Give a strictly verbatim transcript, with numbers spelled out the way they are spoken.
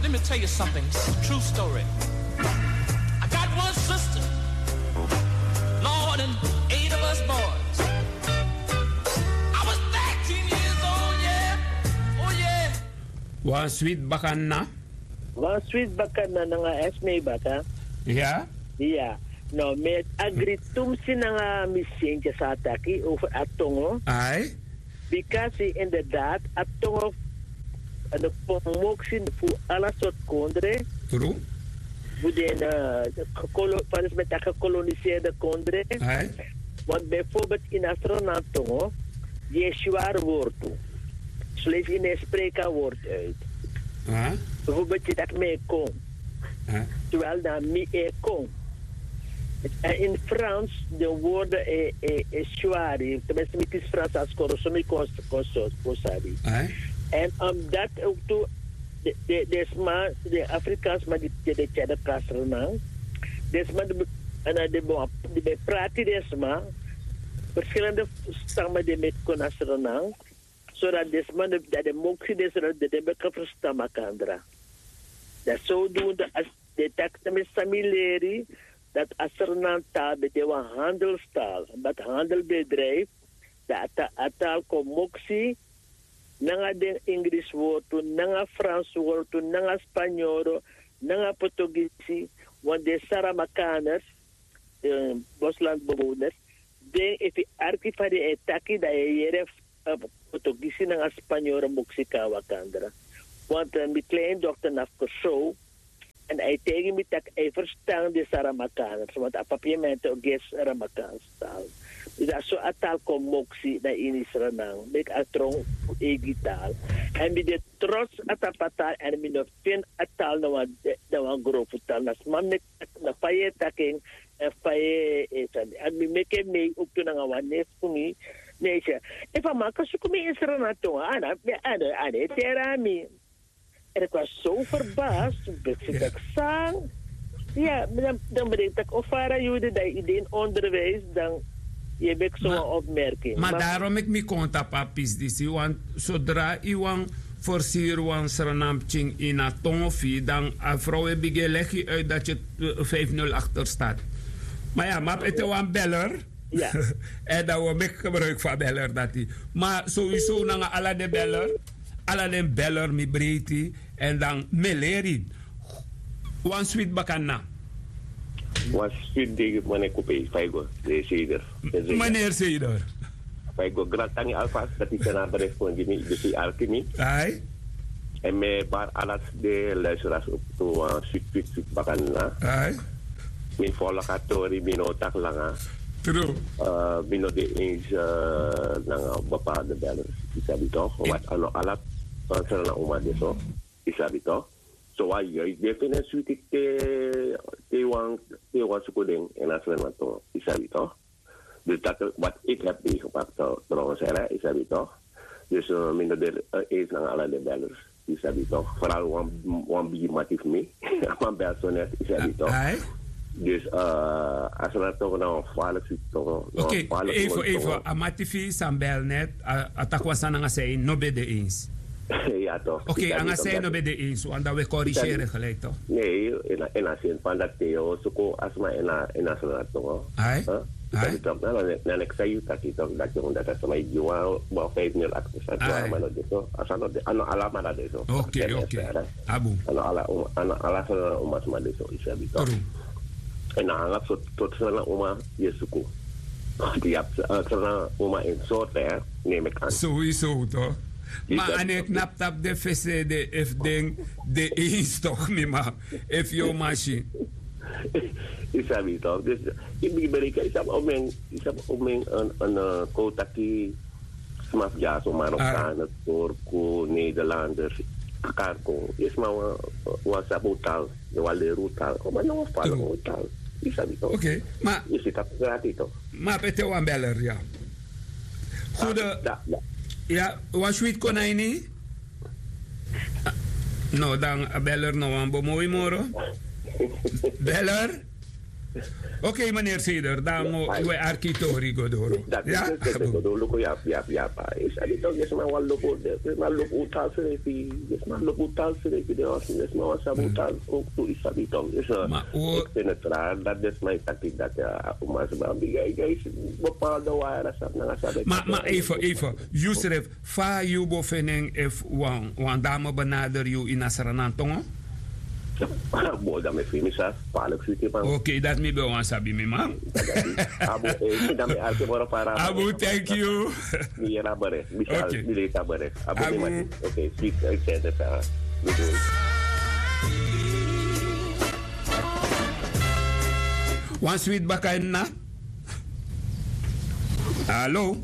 Let me tell you something. This is a true story. I got one sister, Lord, and eight of us boys. I was thirteen years old, yeah. Oh, yeah. Wan switi bakana. Wan switi bakana nanga esme baka. Ya. Ya. No, mi e agri tumsi nanga mi sentye san a taki over a tongo. Ai. Bikasi inderdaad a tongo, de kon moksi fu ala sortu kondre. Tru. Fu den, eh, kolo-, fa den sma e taki, gekoloniseerde kondre. Ai. Want bijvoorbeeld in a Sranan tongo, yu e swari wortu. Soleisi yu no e spreki a wortu uit. Bijvoorbeeld yu taki mi e kon. Terwijl na mi e kon. En in Frans, de woorden e, e, e swari. Tenminste, mi kisi Frans a skoro, so mi kon, kon, so, kon sabi. En omdat ook tu, de, de, de sma, de Afrikaans sma di, di, di tyari kasro nan. De sma di, en dan di, di ben prati de sma. Verschillende stammen di meki kon na Sranan. Zodat de sma, dat de moksi de, zodat de, de ben kan verstaan makandra. Dat zodoende als de taki na mi san mi leri, dat a Sranan taal ben de wan handelstaal, dat handelbedrijf, dat a ta-, a taal kon moksi, nanga den Engels wortu, nanga Frans wortu, nanga Spanyoro, nanga Portugisi, want de Saramakaners, eh, boslandbewoners, den efu arki fa den e taki, dan yu e yere, eh, Portugisi nanga Spanyoro moksi kon na makandra. Want, eh, mi kleindochter na fu Kòrsou, en a e taigi mi taki a e verstan den Saramakaners, want a papiamento gi en Saramakaanse taal. Dus a so a taal kon moksi na ini Sranan, meki a tron fu eigi taal. En mi de trots a tapu a taal, en mi no feni a taal na wan, na wan grofu taal. Na sma meki, na fa yu e taki en, en fa yu e, e sani. En mi meki en mei ook tu nanga wan neef fu mi. Ne, efu a man kan suku mi in Sranan tongo, a no, a no, a no e teri na mi. En ik was zo verbaasd, ik ben gezegd, sang. Ja, dan, dan ben ik tak ofara yu di dan yu de in onderwijs, dan yu e meki so wan opmerking. Ma daarom meki mi kon tapu a pisi disi, want zodra yu wani forseri wan Sranan pikin ini a tongo fu yu, dan a vrouw e bigin e legi yu uit dat yu, eh, vijf nul achter staat. Ma ya, ma ete wan beller. En dan wi o meki gebruik fu a beller dati. Ma sowieso nanga ala den beller, ala den beller mi breiti, en dan mi e leri. Wan switi bakana. Wan switi dei, meneer Kupei, fa yu go, de Seder. Meneer Seder. Fa yu go, grantangi alvast dati yu seni a bericht gi mi, dus yu arki mi. Ai. En mi e bari ala den luisteraars ook tu wan switi, switi, switi bakana. Ai. Mi follow a tori, mi no taki langa. True. Eh, mi no de eens, eh, nanga bepaalde bellers. Yu sabi toch? Want a no ala Sranan uma de so. Yu sabi toch? So wan yu, yu de fini switi te, te wan, te wan suku den ini a Sranan tongo. Yu sabi toch? Dus dat wat ik heb meegemaakt, eh, trouwens, hè, yu sabi toch? Dus, eh, mi no de, eh, eens nanga ala den bellers. Yu sabi toch? Vooral wan, wan bigi mati fu mi. A man bel so net, yu sabi toch? Dus, eh, a Sranan tongo na wan gevaarlijk switi tongo. Oké, even, even. A mati fu yu san bel net, a, a taki wan sani nanga san yu no ben de eens. Ja, toch. Oké, yu sabi toch, nanga san yu no ben de eens, want dan wi e corrigeren gelijk, toch? Nee, in a, in a zin van dat Theo, suku a sma in a, in a Sranan tongo. Ai. Huh? Ai. Yu sabi toch, na, na, na, na, yu taki toch, dat yu, dat a sma e gi wan, wan vijf nul achter staat, wan man no de so, a sani no de, a no ala man na de so. Oké, oké. A bun. A no ala uma, a no ala Sranan uma sma de so, yu sabi toch? True. En na ala sortu, sortu Sranan uma yu e suku. Yu abi, eh, Sranan uma in sortu, hè, neem ik aan. Sowieso toch? Ma a no e knap tapu den fesi, den, efu den, den eens toch, mi man. Efu yu o man si. Yu sabi toch? Dus, yu bigin bereken, yu sabi omeni, yu sabi omeni, en, en, eh, kon taki sma fu dyaso, Marokkanen, Turku, Nederlanders, Karko. Yu sma wan, wan sabi un taal, yu wan leri un taal. Ma yu wan fala un taal. Yu sabi toch? Oké, ma yu si tapu grati toch? Ma ete wan beller, ya. Goede, ya, wan switi kon na ini. No, dan a beller no wani bemoei moro. Beller? Ok, meneer Seder, dan we arki tori go doro. Dati ya, isi go doro, luku ya, ya, ya, pa. Isi abi tok, isi man wan luku, isi man luku tal srefi, isi man luku tal srefi, de wan, isi man wan sabi tal, ook tu isi abi tok. Isi, ma o ik vind het raar dat isi man taki dat, ya, umas ba, bi, ya, ya, isi bepaalde wara sab, nanga sabi. Ma, ma even, even, Yusref, fa yu bo feni en efu wan, wan dame benader yu ini a Sranan tongo? Bo, dan mi fini sa, palik fiti man. Ok, dat mi ben wan sabi mi man. Abu, eh, dan mi arki moro para. Abu, thank you. Mi yera bere, mi sa, mi leta bere. Abu, mi mati. Ok, sweet, ik zei het, eh, mi doe. Wan sweet baka en na. Hallo?